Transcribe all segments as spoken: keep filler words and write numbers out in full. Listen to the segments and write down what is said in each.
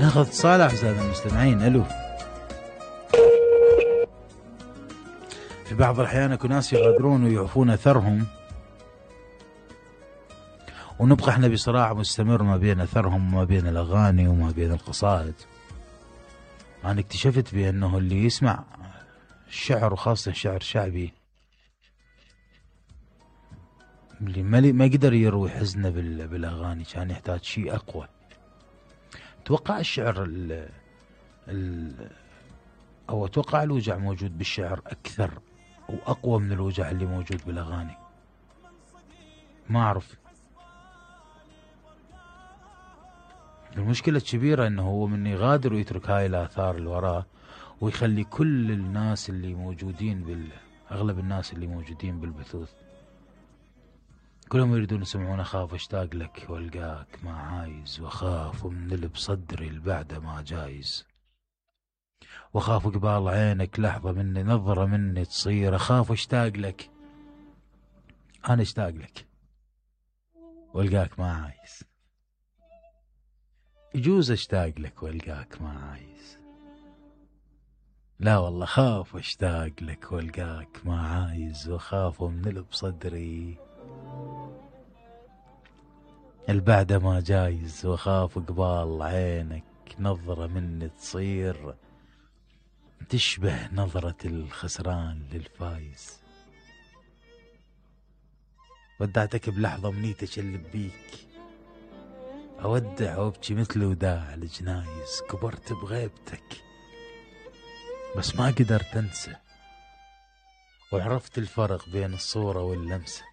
ناخذ اتصال اعزائنا المستمعين. الو. في بعض الاحيان اكو ناس يغادرون ويعفون اثرهم، ونبقى احنا بصراع مستمر ما بين اثرهم وما بين الاغاني وما بين القصائد. انا اكتشفت بانه اللي يسمع الشعر وخاصة شعر شعبي اللي ما ما قدر يروي حزنه بالاغاني كان يحتاج شيء اقوى. اتوقع الشعر ال ال او اتوقع الوجع موجود بالشعر اكثر واقوى من الوجع اللي موجود بالاغاني. ما اعرف. المشكلة الكبيرة انه هو من يغادر ويترك هاي الاثار اللي وراه ويخلي كل الناس اللي موجودين بال اغلب الناس اللي موجودين بالبثوث كلهم يريدون يسمعون اخاف اشتاق لك والقاك ما عايز، واخاف من اللي بصدري البعده ما جايز، واخاف قبال عينك لحظه مني نظره مني تصير، اخاف اشتاق لك. انا اشتاق لك والقاك ما عايز. يجوز اشتاق لك والقاك ما عايز، لا والله خاف اشتاق لك والقاك ما عايز، واخاف من اللي بصدري البعده ما جايز، واخاف قبال عينك نظرة مني تصير تشبه نظرة الخسران للفايز. ودعتك بلحظة منيت اشلب بيك، اودع وابكي مثل وداع الجنايز، كبرت بغيبتك بس ما قدرت انسى، وعرفت الفرق بين الصورة واللمسة.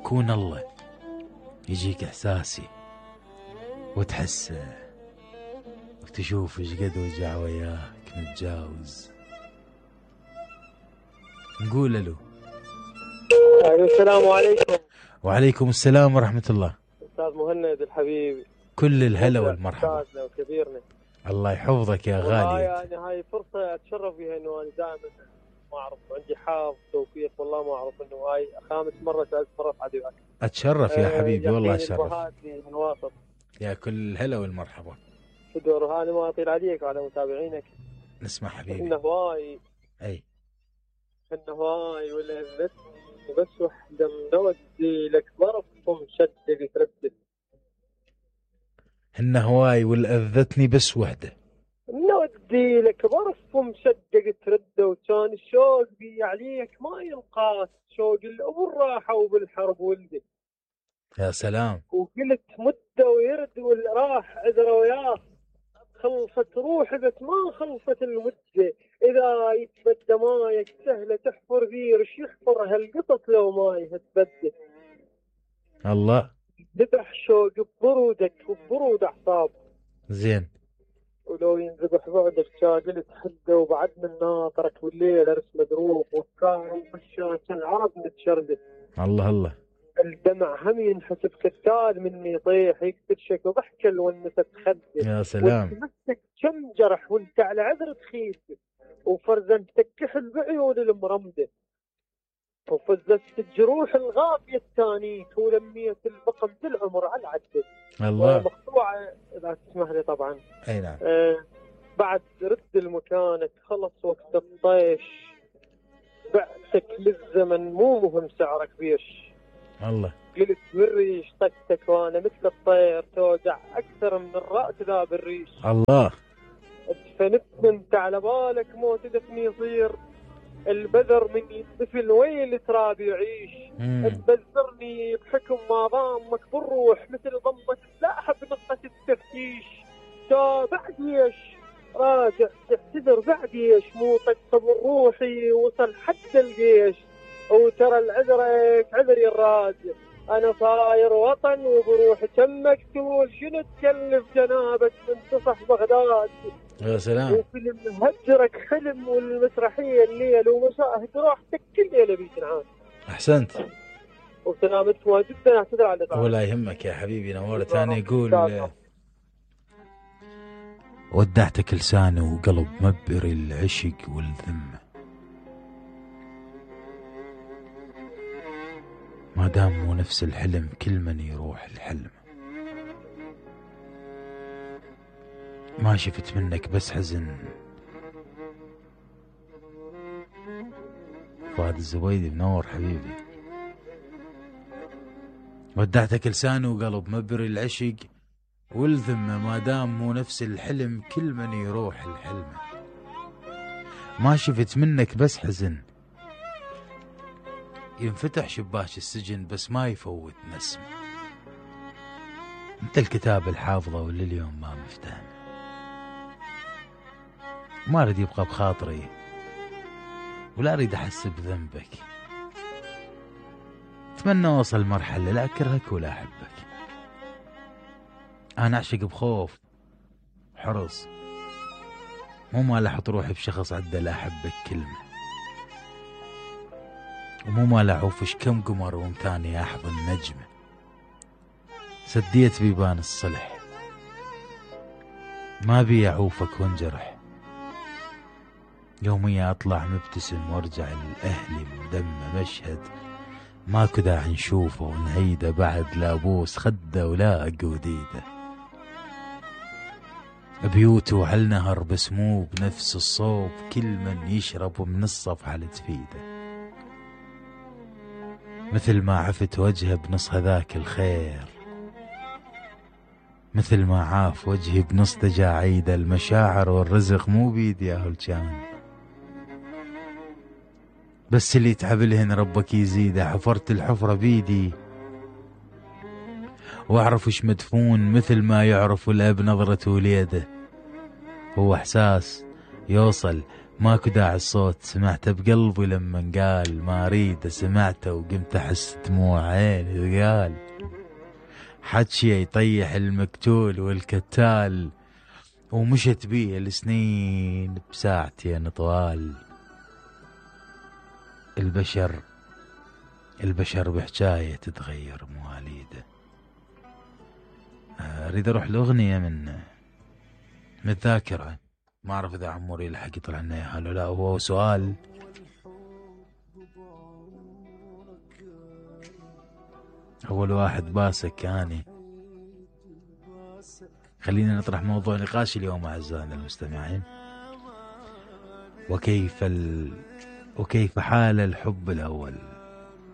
كون الله يجيك احساسي وتحسه وتشوف ايش قد وجع وياك نتجاوز. نقول الو. السلام عليكم. وعليكم السلام ورحمة الله. استاذ مهند الحبيب، كل الهلا والمرحبا. استاذنا وكبيرنا، الله يحفظك يا غالي. يعني هاي فرصة اتشرف بها انه انا دائما ما اعرف عندي حظ توفيق والله ما اعرف انه هاي خامس مرة ثالث مرة في عدوك. اتشرف يا حبيبي والله اتشرف. من واسط. يا كل الهلا والمرحبا. شدور انا ما اطيل عليك وعلى متابعينك. نسمع حبيبي. انه هواي اي انه هواي ولا بس وحده مودي لك ظرف ومشدد تردد. هن هواي والأذتني بس وحده نودي لك ظرف ومشدق ترد، وكان الشوق بي عليك ما ينقاس، شوق الأبو الراحة وبالحرب ولدي. يا سلام. وقلت مدة ويرد والراح عذره وياه، خلصت روحي بس ما خلصت المدة، إذا يتبدى مايك سهلة تحفر فيه رش يحفر هالقطط لو ما يتبدى. الله. ذبح شوق ببرودك وببرود أعصاب. زين. ولو ينذبح بعدك شاقلت حده، وبعد من ناطرك والليل ارس مدروب، وافكار ومشاة العرب متشردة. الله الله. الدمع هم ينحسب كتال مني يطيح، يكتشك وضحك الونسة خده. يا سلام. وتمسك كم جرح وانت على عذر تخيف، وفرزنتك كحل بعيون المرمده، وفزت الجروح الغافية التانيت، ولميت البقم بالعمر على العدة. الله. مقطوعة إذا تسمح لي طبعا. أي نعم. آه بعد رد المكانك خلص وقت الطيش، بعتك للزمن مو مهم سعرك بيش. الله. قلت بالريش طقتك وانا مثل الطير توجع اكثر من الرأس ذا بالريش. الله. ادفنت انت على بالك موت دفني يصير، البذر من يدفن وين تراب يعيش. تبذرني بحكم ما ضامك بالروح، مثل ضمك لاحب نقطة التفتيش. تا بعد ايش راجع تعتذر بعد ايش، مو طق روحي وصل حتى الجيش. وترى العذرك عذري الراجع، انا صاير وطن وبروحي كم مقتول، شنو تكلف جنابك من تصح بغداد. يا سلام. وفيلم هجرك حلم، والمسرحيه الليل ومشاهد راحتك كل ليله بيتنعاد. احسنت. وسلامتك جدا. اعتذر على الإطاعة. ولا يهمك يا حبيبي نورت. انا يقول ودعتك لساني وقلب مبري العشق والذمه، ما دام مو نفس الحلم كل من يروح الحلم. ما شفت منك بس حزن. فؤاد الزبيدي منور حبيبي. ودعتك لسان وقلب مبري العشق والذمة، ما دام مو نفس الحلم كل من يروح الحلم. ما شفت منك بس حزن، ينفتح شباك السجن بس ما يفوت نسم. انت الكتاب الحافظة ولليوم ما مفتحنا، ما اريد يبقى بخاطري ولا اريد احس بذنبك. اتمنى اوصل مرحلة لا اكرهك ولا احبك. انا اعشق بخوف حرص، مو مال احط روحي بشخص عده لا احبك كلمة، ومو مال اعوفش كم قمر ومتاني احضن نجمة. سديت بيبان الصلح، ما بي اعوفك وانجرح. يوميا اطلع مبتسم وارجع لاهلي مدمى مشهد ماكو داعي نشوفه ونهيده، بعد لا ابوس خده ولا اقود ايده. بيوته وعالنهر بس مو بنفس الصوب، كل من يشرب من الصفحة لتفيده. مثل ما عفت وجهه بنص هذاك الخير، مثل ما عاف وجهي بنص تجاعيده. المشاعر والرزق مو بيدي يا هلجان، بس اللي يتعب لهن ربك يزيده. حفرت الحفرة بيدي واعرف وش مدفون، مثل ما يعرف الاب نظرة وليده. هو احساس يوصل ماكو داعي الصوت، سمعته بقلبي لما قال ما اريد. سمعته وقمت احس دموع عيني قال حجي يطيح المقتول والكتال، ومشت بيه السنين بساعتين طوال. البشر البشر بحجاية تتغير مواليده. اريد اروح لاغنية من من الذاكرة، ما اعرف اذا عموري لحق يطلع لنا اياها ولا لا. هو سؤال اول واحد باسك اني. خلينا نطرح موضوع نقاش اليوم اعزائنا المستمعين. وكيف ال... وكيف حال الحب الاول؟